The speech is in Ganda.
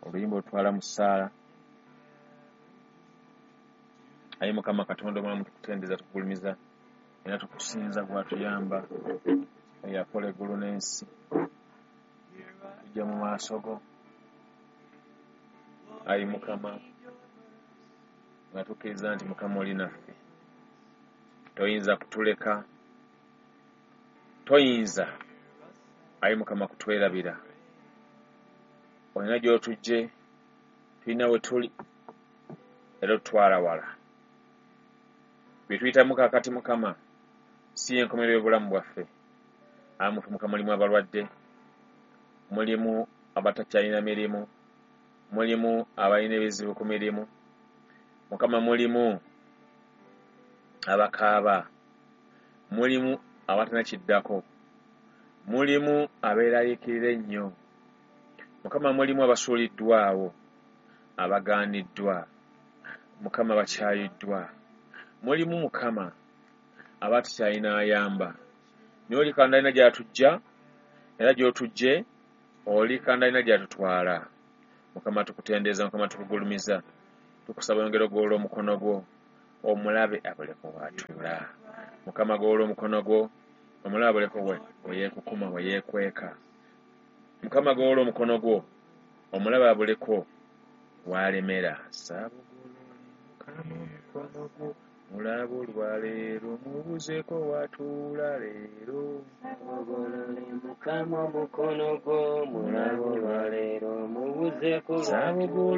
Oluyimba olutwala mu ssaala. Ayi Mukama Katonda omulamu, tukutendereza, tukugulumiza era tukusinza gwatuyamba eyakola eggulu n'ensi. Tujja mu maaso go ayi Mukama nga tukkiriza nti Mukama oli naffe, toyinza kutuleka, toyinza ayi Mukama kutwerabira. Olina gy'otujje, tulina we tuli era otutwala wala. Bye tuyitamu kaakati Mukama si y'enkomerero y'obulamu bwaffe. Amufe Mukama, mulimu abalwadde, mulimu abatakyalina mirimu, mulimu abalina ebizibu ku mirimu, Mukama mulimu abakaaba, mulimu abatalina kiddako, mulimu abeeraliikirira ennyo, Mukama mulimu abasuuliddwawo, abagaaniddwa, Mukama bakyayiddwa, mulimu Mukama abatakyalina ayamba. Naye oli Katonda alina gy'atujja era gy'otujje, oli Katonda alina gy'atutwala. Mukama tukutendereza, Mukama tukugulumiza, tukusaba oyongere ogolola omukono gwo omulabe abuleko w'atuula. Mukama golola omukono gwo omulabe abuleko we yeekukuma, we yeekweka. Mukama golola omukono gwo omulabe abuleko w'alemera. Saabugolole Mukama omukono gwo mulabe olwaleero, mubuzeeko w'atuula leero. Saabugolole Mukama omukono gwo mulabe olwaleero, mubuzeeko. Saabugolole.